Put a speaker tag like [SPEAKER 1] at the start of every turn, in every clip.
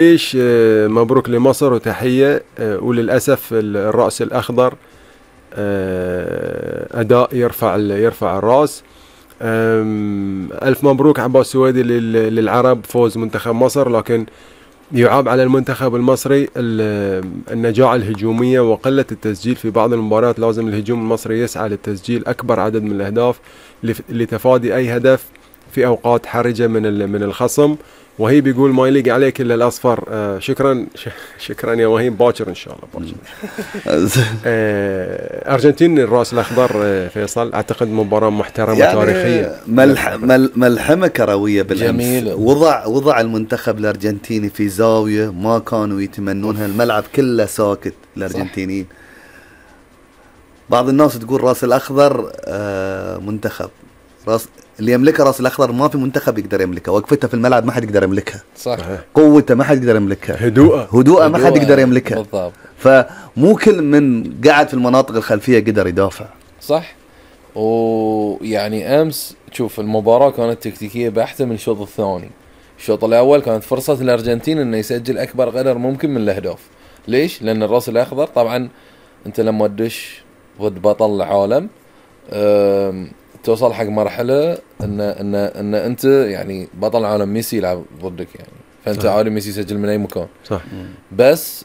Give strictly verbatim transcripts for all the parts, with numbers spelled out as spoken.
[SPEAKER 1] ايش مبروك لمصر وتحية. وللأسف الرأس الأخضر أداء يرفع يرفع الرأس. ألف مبروك عباس سويدي للعرب فوز منتخب مصر، لكن يعاب على المنتخب المصري النجاعة الهجومية وقلة التسجيل في بعض المباريات. لازم الهجوم المصري يسعى للتسجيل أكبر عدد من الأهداف لتفادي أي هدف في أوقات حرجة من من الخصم. وهي بيقول ما يليق عليك إلا الأصفر. آه شكرا شكرا يا وهيب، باكر إن شاء الله باكر. آه أرجنتين الرأس الأخضر. آه فيصل أعتقد مباراة محترمة يعني تاريخية،
[SPEAKER 2] ملح مل ملحمة كروية بالأمس. وضع وضع المنتخب الأرجنتيني في زاوية ما كانوا يتمنونها. الملعب كله ساكت الأرجنتينيين. بعض الناس تقول رأس الأخضر آه منتخب راس اللي يملكها راس الأخضر ما في منتخب يقدر يملكها. وقفته في الملعب ما حد يقدر يملكها.
[SPEAKER 3] صح.
[SPEAKER 2] قوته ما حد يقدر يملكها.
[SPEAKER 1] هدوءه
[SPEAKER 2] هدوءه ما حد يقدر يملكها بالضبط. فمو كل من قاعد في المناطق الخلفية قدر يدافع.
[SPEAKER 3] صح. ويعني أمس شوف المباراة كانت تكتيكية بحتة من الشوط الثاني. الشوط الأول كانت فرصة الأرجنتين إنه يسجل أكبر قدر ممكن من الأهداف. ليش؟ لأن الراس الأخضر طبعا أنت لما تدش ضد بطل العالم توصل حق مرحلة ان ان ان انت يعني بطل العالم ميسي يلعب ضدك يعني، فانت عادي ميسي يسجل من اي مكان.
[SPEAKER 1] صح.
[SPEAKER 3] بس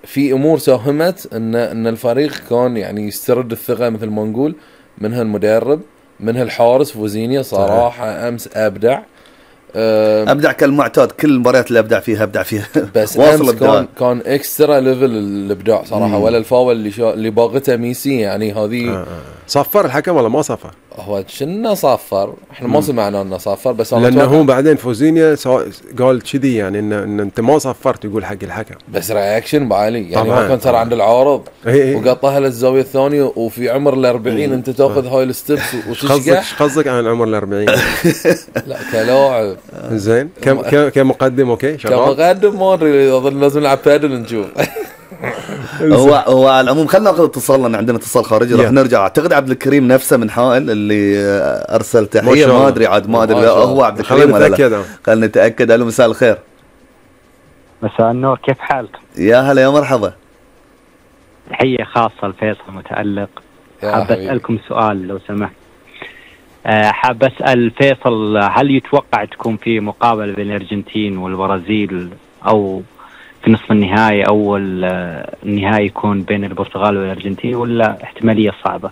[SPEAKER 3] في امور ساهمت ان ان الفريق كان يعني يسترد الثقة مثل ما نقول، منها المدرب، منها الحارس فوزينيا صراحة. صحيح. امس ابدع
[SPEAKER 2] ابدع كالمعتاد. كل المباريات اللي ابدع فيها ابدع فيها.
[SPEAKER 3] بس امس كان كان اكسترا ليفل الابداع صراحه. مم. ولا الفاول اللي شا... اللي باغته ميسي يعني هذه.
[SPEAKER 1] آه آه. صفر الحكم ولا ما صفر؟
[SPEAKER 3] هو شنو صفر؟ احنا ما سمعنا انه صفر، بس
[SPEAKER 1] لانه هو بعدين فوزينيا قال كذي يعني ان, إن انت ما صفرت يقول حق الحكم.
[SPEAKER 3] بس رياكشن بعالي يعني. ما كان ترى عند العارض وقطها للزاويه الثانيه وفي عمر الأربعين انت تاخذ هاي الستبس وتشقح.
[SPEAKER 1] ايش قصدك عن عمر الأربعين؟
[SPEAKER 3] لا كلاعب
[SPEAKER 1] زين. كم كمقدم اوكي شغال
[SPEAKER 3] كمقدم ما ادري اظن لازم نلعب بادل نشوف.
[SPEAKER 2] هو هو على العموم خلينا ناخذ اتصال لان عندنا اتصال خارجي راح نرجع. اعتقد عبد الكريم نفسه من حائل اللي ارسل تحيه. ما ادري عاد ما ادري هو عبد الكريم ولا لا. خلينا نتاكد. الو مساء الخير.
[SPEAKER 4] مساء النور، كيف حالك؟
[SPEAKER 2] يا هلا يا مرحبا.
[SPEAKER 4] تحيه خاصه لفيصل متالق. حاب اسالكم سؤال لو سمحت. حاب أسأل فيصل، هل يتوقع تكون في مقابلة بين الأرجنتين والبرازيل أو في نصف النهائي أو النهائي يكون بين البرتغال والأرجنتين، ولا احتمالية صعبة؟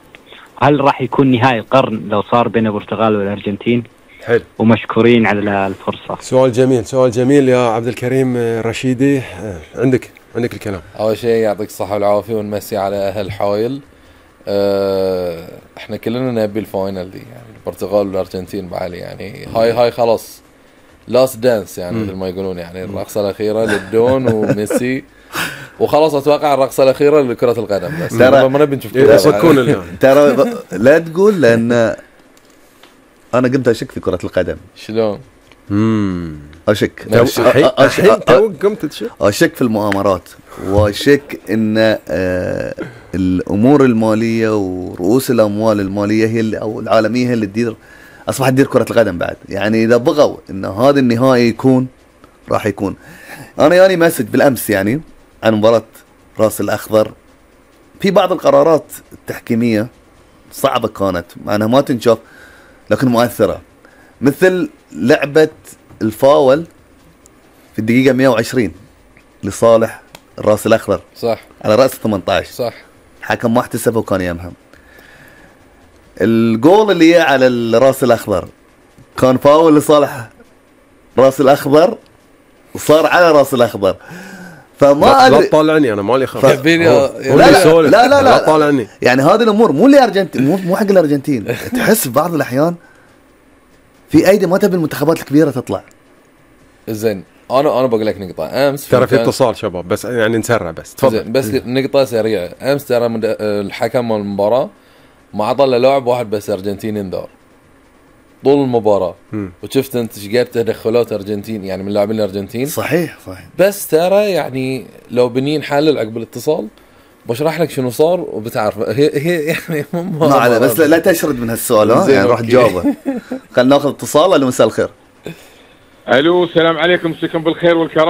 [SPEAKER 4] هل راح يكون نهائي القرن لو صار بين البرتغال والأرجنتين؟
[SPEAKER 1] حلو.
[SPEAKER 4] ومشكورين على الفرصة.
[SPEAKER 1] سؤال جميل سؤال جميل يا عبد الكريم الرشيدي. عندك عندك الكلام.
[SPEAKER 3] أول شيء يعطيك الصحة والعافية ونمسي على أهل حايل. أه احنا كلنا نبي الفاينل دي يعني البرتغال والارجنتين بعالي يعني. هاي هاي خلاص لاست دانس يعني مثل ما يقولون يعني. الرقصة الأخيرة للدون وميسي وخلاص. اتوقع الرقصة الأخيرة لكرة القدم. بس ترى ما نبي نشوف
[SPEAKER 1] كرة.
[SPEAKER 2] ترى لا تقول لأن أنا قمت أشك في كرة القدم.
[SPEAKER 3] شلون؟
[SPEAKER 1] امم
[SPEAKER 2] أشك
[SPEAKER 1] الحين تو قمت تشك.
[SPEAKER 2] أشك في المؤامرات وأشك إن آه الأمور المالية ورؤوس الأموال المالية هي اللي أو العالمية هي اللي تدير أصبحت تدير كرة القدم بعد. يعني إذا بغوا إن هذا النهائي يكون راح يكون. أنا يعني مسج بالأمس يعني عن مباراة راس الأخضر. في بعض القرارات التحكيمية صعبة كانت مع أنها ما تنشاف لكن مؤثرة، مثل لعبة الفاول في الدقيقة مئة وعشرين لصالح الراس الأخضر.
[SPEAKER 3] صح.
[SPEAKER 2] على رأس ثمانية عشر.
[SPEAKER 3] صح.
[SPEAKER 2] حكم ما احتسبه وكان يمهم. الجول اللي على الراس الأخضر كان فاول لصالح راس الأخضر وصار على راس الأخضر. فما أدري.
[SPEAKER 1] لا تطالعني أنا مالي خبر.
[SPEAKER 2] ف... لا, لا, لا لا لا
[SPEAKER 1] لا تطالعني.
[SPEAKER 2] يعني هذه الأمور مو الأرجنتين مو مو حق الأرجنتين. تحس بعض الأحيان في أيدي ما تبي المنتخبات الكبيرة تطلع.
[SPEAKER 3] زين انا انا بقول لك نقطه. امس
[SPEAKER 1] ترى في اتصال شباب بس يعني نسرع بس تفضل.
[SPEAKER 3] بس نقطه سريعه. امس ترى الحكم المباراه ما عطى له لاعب واحد بس ارجنتيني انذار طول المباراه. م. وشفت انت ايش قد تدخلات ارجنتين يعني من لاعبين الارجنتين.
[SPEAKER 2] صحيح صحيح.
[SPEAKER 3] بس ترى يعني لو بنين حلل عقب الاتصال بشرح لك شنو صار وبتعرف. هي هي يعني
[SPEAKER 2] ما على بس لا تشرد من هالسؤال. ها يعني راح تجاوبه. خلينا ناخذ اتصال. الو مساء الخير.
[SPEAKER 5] الو السلام عليكم، مساكم بالخير والكرام.